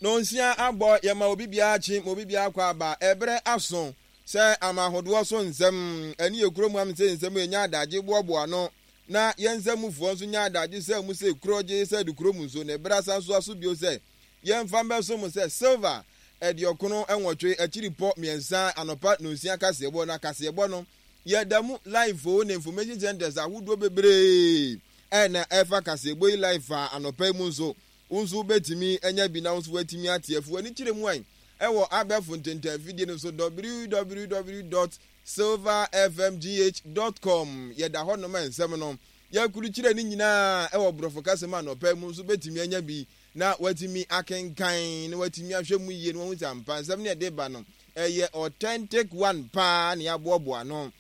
Nonsia abɔ, yɛma obi biara kye ma obi biara kɔ aba. Ɛberɛ aso sɛ ama ahodoɔ so nsɛm ɛne yɛ kurom amsɛ nsɛm yɛnya adagye boaboa ano na yɛn nsamufoɔ nso nya adagye sɛ mu sɛ kurɔgye sɛ de kurom nso na ɛberɛ asan so aso bio sɛ yɛmfa mbɛso mo sɛ silver aduɔkono nwɔtwe akyiripɔ mmiɛnsa anɔpa nonsia kaseɛbɔ na kaseɛbɔ no yɛda mu live o ne information centers ahodoɔ bebree ɛna ɛfa kaseɛbɔ yi live a anɔpa yi mu nso Wo nso wobɛtumi anya bi na wo nso woatumi ate afi w'ani kyerɛ mu an ɛwɔ abɛɛfo ntentan afidie no so www dot silverfmgh dot com. Yɛda hɔ nom a nsɛm no yɛakurukyerɛ ne nyinaa ɛwɔ borɔfo kasa mu anɔpa yi mu nso wobɛtumi anya bi na woatumi akenkan na woatumi ahwɛ mu yie na woahu sɛ ampa nsɛm no yɛde ba no ɛyɛ authentic one paa na yɛaboaboa ano.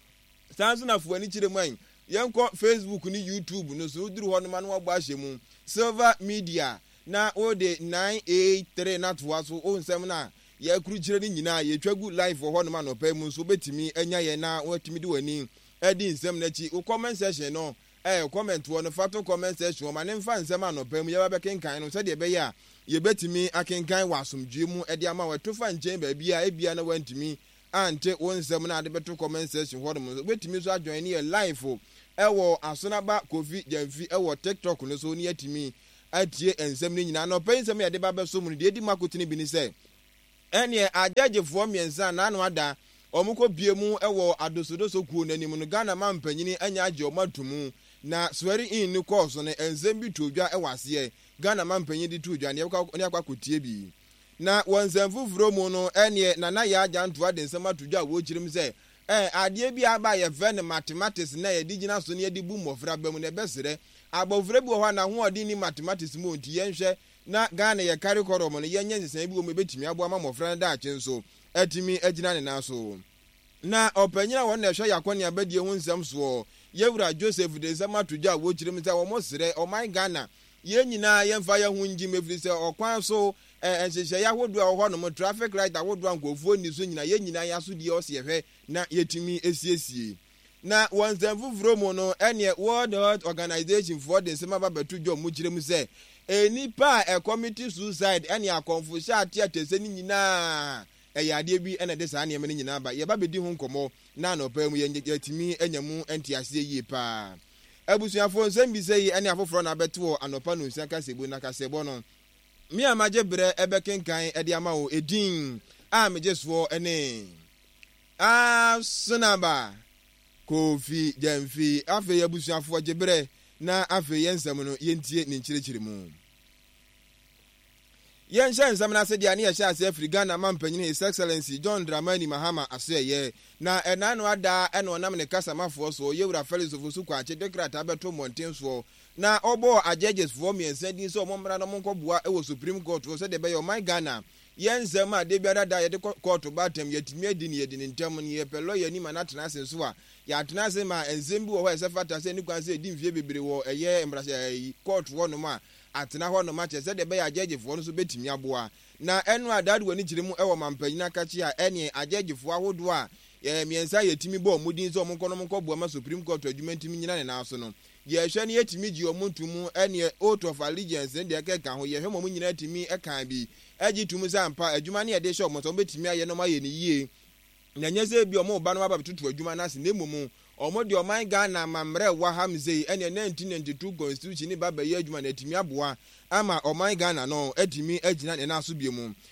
Saa nso na fo w'ani kyerɛ mu an Yɛnkɔ Facebook ne YouTube no so, woduru hɔ no ma no wɔabɔ ahyɛ mu, Silver Media, na wode 983 no atoa so, wo nsɛm no a yɛakrukyire no nyinaa yɛtwa gu live wɔ hɔnom anɔpa yi mu nso wobɛtumi anya yɛn na woatumi de w'ani adi nsɛm no akyi. Wo comment section no, eh, comment wɔ no, fa to comment section hɔ ma ne mfa nsɛm anɔpa yi mu yɛba bɛkenkan no sɛdeɛ ɛbɛyɛ a yɛbɛtumi akenkan wɔ asomdwoeɛ mu de ama wo. Ɛto fa nkyɛn baabi a ebia na woantumi ante wo nsɛm no a de bɛto comment section hɔ nom nso wobɛtumi nso ajoin ne yɛ live ɛwɔ Asonaba Kofi Gyamfi ɛwɔ TikTok no so ne yɛatumi atie nsɛm no nyinaa. Anɔpa yi nsɛm a yɛde ba bɛso mu no deɛ ɛdi mu akotene bi ne sɛ ɛneɛ agyɛgyefoɔ mmiɛnsa a n'ano ada wɔn kɔ pie mu ɛwɔ adosodoso kuo no anim no Ghana mampanyini anya agye wɔn ato mu na swearing in no kɔɔ so no nsɛm bi too dwa ɛwɔ aseɛ Ghana mampanyini de too dwa ne yɛbɛkɔ akɔtie bi. Na wɔ nsɛm foforɔ mu no, ɛneɛ Nana Yaa Gyantoa de nsɛm ato dwa a wɔkyerɛ mu sɛ, Ɛɛ, adeɛ bi aba a yɛfrɛ no mathematics no a yɛde gyina so na yɛde bu mmɔfra ba mu no, ɛbɛserɛ. Abɔfra bi wɔ hɔ a n'ahoɔden nni mathematics mu o, nti yɛnhwɛ na Ghana yɛ curriculum no yɛnyɛ nsesaeɛ bi wɔ mu a ɛbɛtumi aboa ma mmɔfra no daakye nso atumi agyina ne nan so. Na ɔpanyin a ɔno na ɛhwɛ yɛn akɔneabadie ho nsɛm soɔ, Yɛwura Joseph de nsɛm ato dwa a wɔkyerɛ mu sɛ wɔsrɛ ɔman Ghana yɛn nyinaa yɛmfa yɛn ho ngyim ɛfiri sɛ ɔkwan so nhyehyɛeɛ ahodoɔ a ɛwɔ hɔ nom, traffic light ahodoɔ a nkurɔfoɔ nni so nyinaa yɛn nyinaa yɛn asodie ɔsɛ yɛhwɛ na yɛtumi siesie. Na wɔ nsɛm foforɔ mu no ɛneɛ World Health Organization foɔ de nsɛm aba bɛto dwa wɔn kyerɛ mu sɛ nnipa a ɛkɔmiti suicide ɛne akɔmfohyɛ ateatɛsɛ no nyinaa Ɛyɛ adeɛ bi na ɛde saa nneɛma no nyinaa ba. Yɛba bɛdi ho nkɔmmɔ na anɔpa yi mu yɛatumi anya mu nteaseɛ yie pa ara. Abusuafoɔ, nsɛmbisa yi ne afoforɔ na abɛto wɔ anɔpa nonsia kaseɛbɔ na kaseɛbɔ no, me a magye berɛ bɛkenkan de ama wo. Edin a megye soɔ ne Asonaba Kofi Gyamfi. Afei abusuafoɔ gye berɛ na afei yɛn nsɛm no yɛntie ne nkyerɛkyerɛmu. Yɛnhyɛ nsɛm no ase deɛ a ne yɛhyɛ aseɛ firi Ghana manpanyin His Excellency John Dramani Mahama asoɛeɛ na ɛna ano ada ɛna ɔnam ne kasamafoɔ soɔ Yewura Felix Ofosu Kwakye de krataa bɛto mmɔnten soɔ na ɔbɔɔ ajɛgyes foɔ mmiɛnsa din sɛ wɔn mmra na wɔn nkɔboa wɔ Supreme Court hɔ sɛdeɛ ɛbɛyɛ ɔman Ghana yɛn nsɛm a da biara da yɛde kɔ kɔɔto ba atɛm yɛatumi adi no yɛdi no ntɛm no yɛpɛ lɔya ni ma no atena ase nso a yɛatena ase ma nsɛm bi wɔ hɔ a ɛsɛ fata sɛ ɛni kwan sɛ ɛdi mfeɛ bebree wɔ ɛyɛ mmarahyɛ kɔɔto hɔ nom a atena hɔ nom akyɛ sɛdeɛ ɛbɛyɛ a gyɛɛgyefoɔ no nso bɛtumi aboa. Na ɛno a Dad w'ani kyerɛ mu wɔ mampanyin akakye a ɛneɛ agyɛɛgyefoɔ ahodoɔ a yɛ mmiɛnsa a yɛtumi bɔ wɔn din sɛ wɔn nkɔ na wɔn nkɔ boa ma Supreme Court adwuma ntumi nyina ne nan so no, yɛhwɛ no yɛtumi gye wɔn to mu ɛneɛ Oath of Allegiance ne deɛ ɛkeka ho, yɛhwɛ ma wɔn nyinaa tumi ka bi gye to mu sɛ ampa adwuma no yɛde hyɛ wɔn nsa wɔbɛtumi ayɛ na wɔayɛ no yie. Na ɛnyɛ sɛ ebia wɔreba na wɔaba abɛtoto adwuma no ase na mmom wɔde ɔman Ghana amammerɛ a ɛwɔ ha msei ɛneɛ 1992 constitution no ba abɛyɛ adwuma na atumi aboa ama ɔman Ghana no atumi agyina ne nan so bio.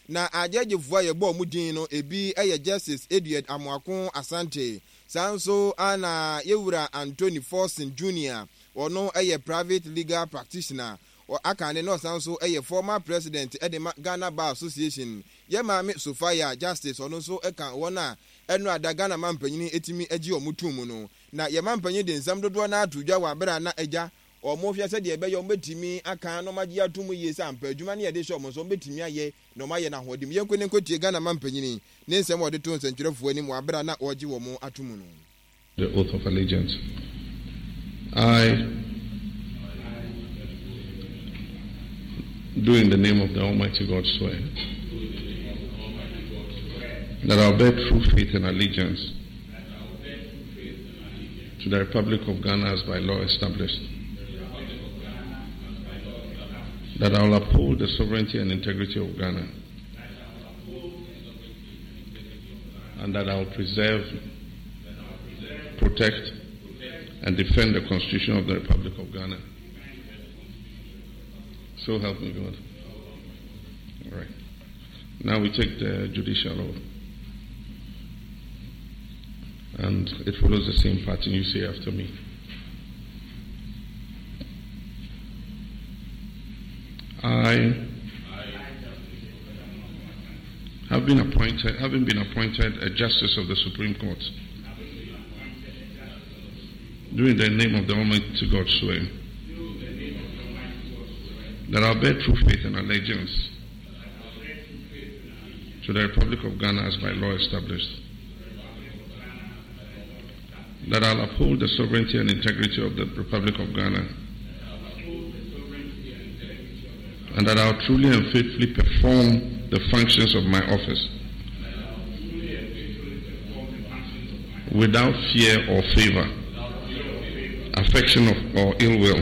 Na agyɛgyefoɔ a yɛbɔɔ wɔn din no ebi yɛ Justice Edward Amoako Asante, saa nso ara na Yɛwura Anthony Forson Junior, ɔno yɛ private legal practitioner, aka ne na ɔsan nso yɛ former president de ma Ghana Bar Association. Yɛ maame Sophia Justice ɔno nso ka wɔn a ɛno a da Ghana manpanyin tumi gye wɔn tom mu no. Na yɛ manpanyin de nsɛm dodoɔ no ara to dwa wɔ abere a na agya wɔn hwɛ sɛdeɛ ɛbɛyɛ wɔn bɛtumi aka na wɔn agye ato mu yie sɛ ampa adwuma no yɛde hyɛ wɔn nsa wɔn bɛtumi ayɛ na wɔn ayɛ no ahoɔden mu. Yɛnkɔ ne nkɔtie Ghana manpanyin ne nsɛm a ɔde too nsɛntwerɛfoɔ anim wɔ abere a na ɔregye wɔn ato mu no. The oath of allegiance. I do in the name of the Almighty God swear that I'll bear true faith and allegiance to the Republic of Ghana as by law established. That I will uphold the sovereignty and integrity of Ghana. And that I will preserve, protect, and defend the Constitution of the Republic of Ghana. So help me God. All right. Now we take the judicial oath. And it follows the same pattern you say after me. I have been appointed, having been appointed a justice of the Supreme Court, during the name of the Almighty God swear that I'll bear true faith and allegiance to the Republic of Ghana as by law established, that I'll uphold the sovereignty and integrity of the Republic of Ghana, and that I'll truly and faithfully perform the functions of my office without fear or favor, affection of, or ill will,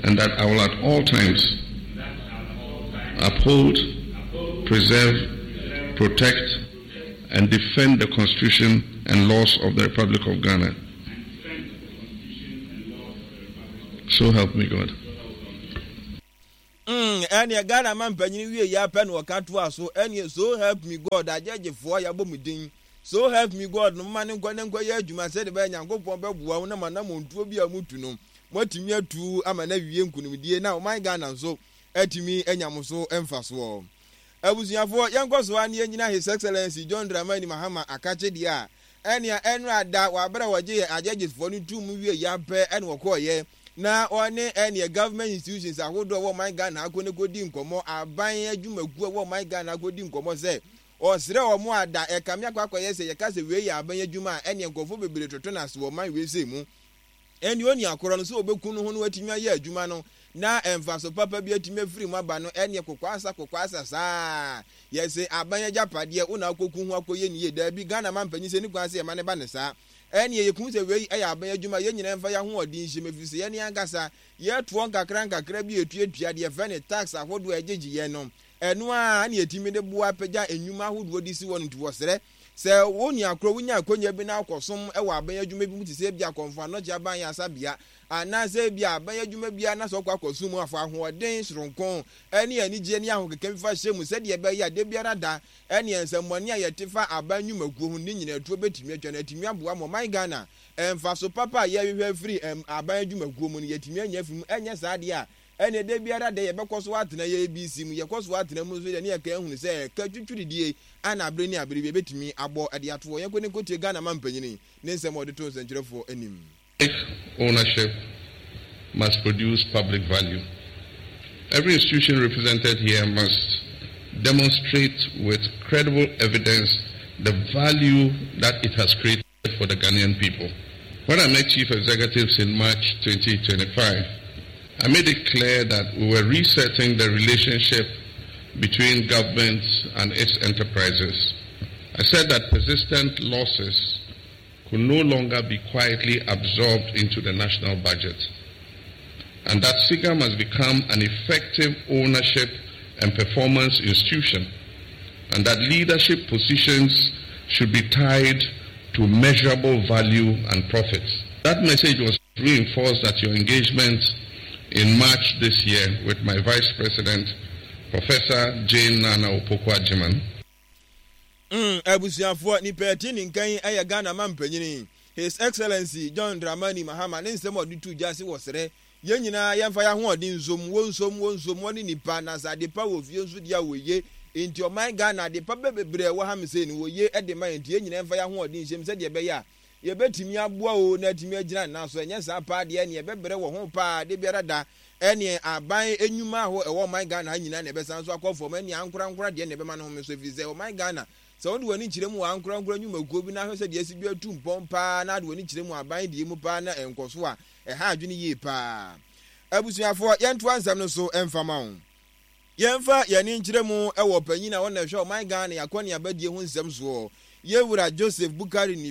and that I will at all times uphold, preserve, protect, and defend the Constitution and laws of the Republic of Ghana. So help me God. Mm, ɛneɛ Ghana ma mpanyini wie yɛ apɛ na ɔka toa so, ɛneɛ so help me God, agyɛgyefoɔ yɛabɔ mu din. So help me God no moma ne nkɔ ne nkɔ yɛ adwuma sɛde bɛyɛ Nyankopɔn bɛboa wo na mo anamontuo bi a motu no moatumi atu ama no awie nkunimdie na ɔman Ghana nso atumi anya mo so mfasoɔ. Abusuafoɔ, yɛnkɔ so ara na yɛnnyina His Excellency John Dramani Mahama akakye deɛ a ɛnea ɛnora da wɔ aberɛ a wɔgye yɛn agyɛgyesfoɔ no too mu wie yɛ apɛ ɛna wɔkɔɔyɛ na wɔne ɛneɛ government institutions ahodoɔ ɛwɔ ɔman Ghana akɔ ne kɔdi nkɔmmɔ, aban adwumakuo ɛwɔ ɔman Ghana akɔdi nkɔmmɔ sɛ ɔsrɛ wɔn a da ɛkame akɔ akɔyɛ sɛ yɛka sɛ wei yɛ aban adwuma a ɛneɛ nkurɔfoɔ bebree toto no ase wɔ ɔman wei sei mu. Ɛnde onua korɔ no, sɛ ɔbɛku no ho na watumi ayɛ adwuma no na mfaso papa bi atumi afiri mu aba no, ɛnneɛ kokwaasa kokwaasa saa. Yɛse aban agyapadeɛ, wo na wokɔku ho akɔyɛ no yie. Daabi, Ghana manpanyin sɛ ɛni kwan sɛ yɛma no ba no saa. Ɛnneɛ yɛku sɛ wei yɛ aban adwuma, yɛn nyinaa mfa yɛn ahoɔden nhyɛ mu, ɛfiri sɛ yɛn ankasa yɛtoɔ nkakra nkakra bi a yɛtuatua deɛ yɛfrɛ no tax ahodoɔ a ɛgyegye yɛn no, ɛno ara na yɛtumi de boa pagya nnwuma ahodoɔ de si hɔ no nti wɔsrɛ Sɛ wo nua koro wunya akwannya bi na wokɔsom wɔ aban adwuma bi mu te sɛ ebia Kɔmfo Anɔkye Aban Ayaresabea anaasɛ ebia aban adwuma biara na sɛ wokɔ akɔsom mu a, fa ahoɔden soronko ne anigye ne ahokeka bi fa hyɛ mu sɛdeɛ ɛbɛyɛ a da biara da ɛneɛ nsɛmmɔne a yɛte fa aban nnwumakuo ho no ne nyinaa tuo bɛtumi atwa na atumi aboa ma ɔman Ghana mfaso papa a yɛrehwehwɛ afiri aban adwumakuo mu no yɛatumi anya afiri mu. Ɛnyɛ saa deɛ a Ɛnneɛ da biara da yɛbɛkɔ so atena yɛn ABC mu, yɛkɔ so atena mu nso deɛ ne yɛka ahunu sɛ ɛka twitwiridie a na abere ne abere bi ɛbɛtumi abɔ de ato hɔ. Yɛnkɔ ne nkɔtie Ghana mampanyini ne nsɛm a ɔde too nsɛnkyerɛfoɔ anim. Ownership must produce public value. Every institution represented here must demonstrate with credible evidence the value that it has created for the Ghanaian people. When I met chief executives in March 2025, I made it clear that we were resetting the relationship between government and its enterprises. I said that persistent losses could no longer be quietly absorbed into the national budget, and that SIGA must become an effective ownership and performance institution, and that leadership positions should be tied to measurable value and profits. That message was reinforced at your engagement in March this year with my Vice President, Professor Jane Nana Opoku-Agyemang. Abusuafoɔ, nipa ɛte ne nka yi yɛ Ghana mampanyini, His Excellency John Dramani Mahama ne nsɛm a ɔde too dwa se wɔsrɛ yɛn nyinaa yɛmfa yɛn ahoɔden nsom, wɔnsom, wɔnsom, wɔne nipa, na sɛ adepa wɔ fie nso deɛ a wɔye, nti ɔman Ghana adepa bebree a ɛwɔ ha me sei no wɔye de ma yɛn, nti yɛn nyinaa yɛmfa yɛn ahoɔden nhyɛm sɛdeɛ ɛbɛyɛ a yɛbɛtumi aboa o na atumi agyina ne nan so, ɛnyɛ saa paa deɛ ɛneɛ ɛbɛbrɛ wɔ ho paa da biara da, ɛneɛ aban nnwuma aho ɛwɔ ɔman Ghana ha nyinaa na ɛbɛsan nso akɔ fam, ɛneɛ ankorankora deɛ na ɛbɛma no home so, ɛfiri sɛ ɔman Ghana sɛ wode w'ani kyerɛ mu wɔ ankorankora nnwumakuo bi na ahwɛ sɛ deɛ asi bi atu mpɔn paa na ade w'ani kyerɛ mu aban deɛ mu paa na ɛnkɔ so a, ɛha adwene yie paa. Abusuafoɔ, yɛntoa nsɛm no so mfa ma wo. Yɛmfa yɛn ani nkyerɛ mu wɔ ɔpanyin a ɔna ɛhwɛ ɔman Ghana akɔneabadie ho nsɛm soɔ, Yɛwura Joseph Bukari.